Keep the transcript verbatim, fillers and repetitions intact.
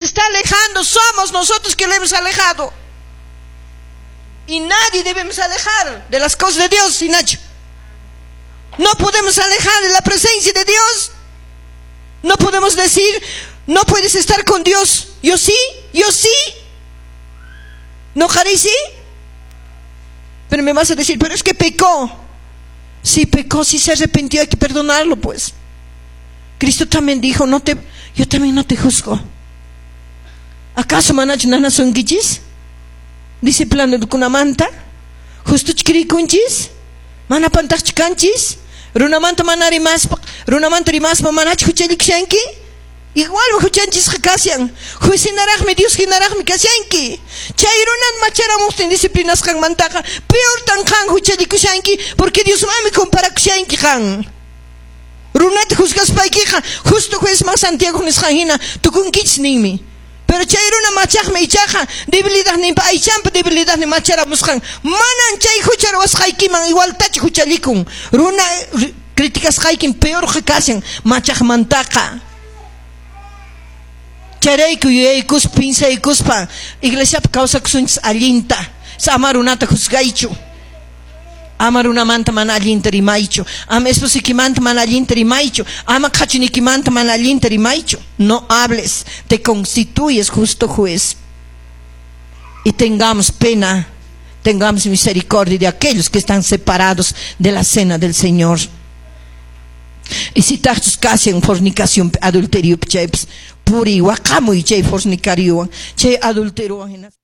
Está alejando, somos nosotros que lo hemos alejado. Y nadie debemos alejar de las cosas de Dios, Nacho. No podemos alejar de la presencia de Dios. No podemos decir, no puedes estar con Dios. Yo sí, yo sí. ¿No, Jari, sí? Pero me vas a decir, pero es que pecó. Si pecó, si se arrepintió, hay que perdonarlo, pues. Cristo también dijo, no te, yo también no te juzgo. ¿Acaso manachu nanasunkichis? Disciplinakunamanta? Justuchu creekunchis? Mana pantaqchu kanchis? Runamanta mana rimaspa, runamanta rimaspa manachu huchallikushanki? Igual huchanchisqa kashan. Juez hinaraqmi, Dios hinaraqmi kashanki. Chay runan macharamuqtin disciplinasqanmantaqa peortan qan huchallikushanki porque Diosmanmi comparakushanki qan. Runata juzgaspaykiqa justo juezman Santiago nisqan hina tukunkichis ninmi. Pero chay runa machaqmi ichaqa debilidadninpa aychanpa debilidadnin macharamusqan manan chay hucha ruwasqaykiman igualtachu huchallikun. Runa criticasqaykin peorqa kashan machaqmantaqa. Chayrayku yuyaykuspa pinsaykuspa iglesiapi kawsakusunchis allinta. Ama runata juzgaychu. Ama runamanta mana allinta rimaychu. Ama esposaykimanta mana allinta rimaychu. Ama qhachunikimanta mana allinta rimaychu. No hables, te constituyes justo juez. Y tengamos pena, tengamos misericordia de aquellos que están separados de la cena del Señor. Y si tachus kashan fornicación, adulterio, chaypis, puriy waqamuy chay fornicariowan, chay adulteriowan.